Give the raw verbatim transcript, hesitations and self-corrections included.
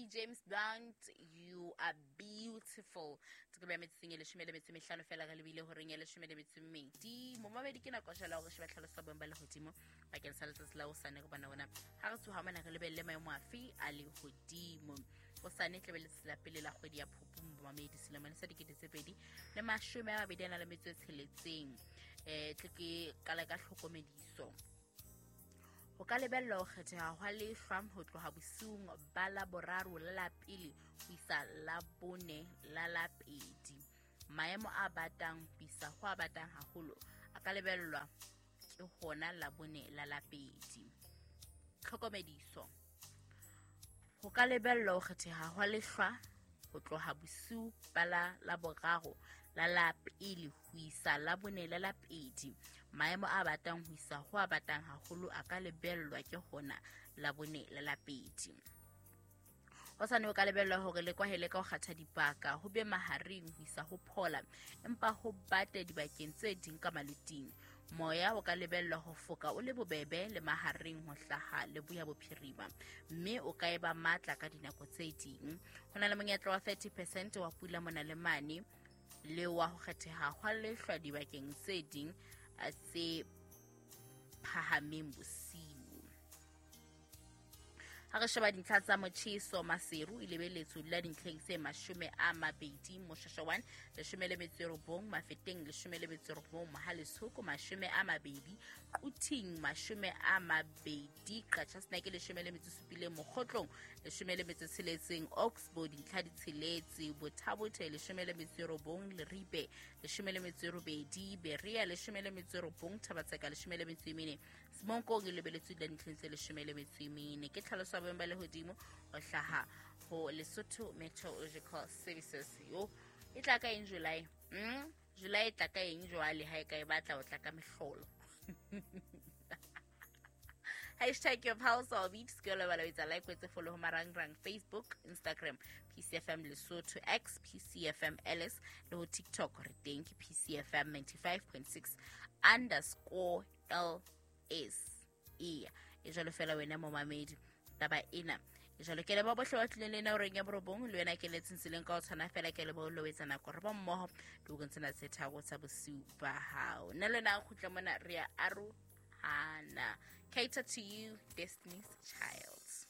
James Blunt, you are beautiful. Tokelo ya metsotsong e leshome le metso e mehlano fela re lebile horeng ya leshome le metso e mmedi. Momamedi, ke nako jwale ya hore sheba tlhaloso ya boemo ba lehodimo bakeng sa letsatsi la hosane, re bona bona ha re tsoha mona re lebelle maemo afe a lehodimo. Hosane tlabe letsatsi la pele la kgwedi ya Phupu, momamedi, selemong sa dikete tse pedi le mashome a mabedi a na le metso e tsheletseng. um tle ke qala ka tlhokomediso. Ho ka lebellwa ho kgetheha hwa lehlwa ho tloha bosiung ba Laboraro la la pele ho isa Labone la la pedi. Maemo a batang ho isa ho a batang haholo a ka lebellwa ke hona Labone la la pedi. Tlhokomediso. Ho ka lebellwa ho kgetheha hwa lehlwa ho tloha bosiu ba la Laboraro la la pele ho isa Labone la la pedi. Maemo a batang ho isa ho a batang haholo a ka lebellwa ke hona Labone la la pedi. Hosane ho ka lebellwa hore le kwahele ka ho kgatha dibaka, ho be mahareng ho isa ho phola, empa ho bate dibakeng tse ding ka maloting. Moya o ka lebellwa ho foka o le bobebe le mahareng ho hlaha leboya bophirima, mme o ka eba matla ka dinako tse ding. Ho na le monyetla wa thirty percent wa pula mona le mane, le wa ho kgetheha hwa lehlwa dibakeng tse ding tse phahameng bosiu. Ha re sheba dintlha tsa motjheso, Maseru e lebelletswe ho dula dintlheng tse mashome a mabedi, Moshweshwe one leshome le metso e robong, Mafeteng leshome le metso e robong, Mohale'shoek mashome a mabedi, Quthing mashome a mabedi, Qacha's Nek leshome le metso e supileng, Mokhotlong leshome le metso e tsheletseng, Oxbow dintlha di tsheletse, Botha-Bothe leshome le metso e robong, Leribe leshome le metso e robedi, Berea leshome le metso e robong, Thaba-Tseka leshome le metso e mene, Semonkong e lebelletswe dula dintlheng tse leshome le metso e mene. Ke tlhaloso ya boemo ba lehodimo ho hlaha ho Lesotho Meteorological Services. Yo e tla ka eng July? Mm? July e tla ka eng jwale ha e ka e batla ho tla ka mehlolo? Hashtag your pulse or beat. Se ke lebala ho etsa like, o etse follow ho marangrang Facebook, Instagram, P C F M Lesotho, X, P C F M L S, le ho TikTok re teng ke P C F M ninety-five point six underscore L S. Eya, e jwalo fela wena momamedi, taba ena e jwalo. Ke leboha bohle ba tlileng le ena horeng ya borobong, le wena ke letseng tseleng ka ho tshwana fela. Ke leboha le ho etsa nako re ba mmoho dioreng tsena tse tharo tsa bosiu ba hao. Nna le wena re kgutla mona, re ya arohana. Cater to you, Destiny's Child.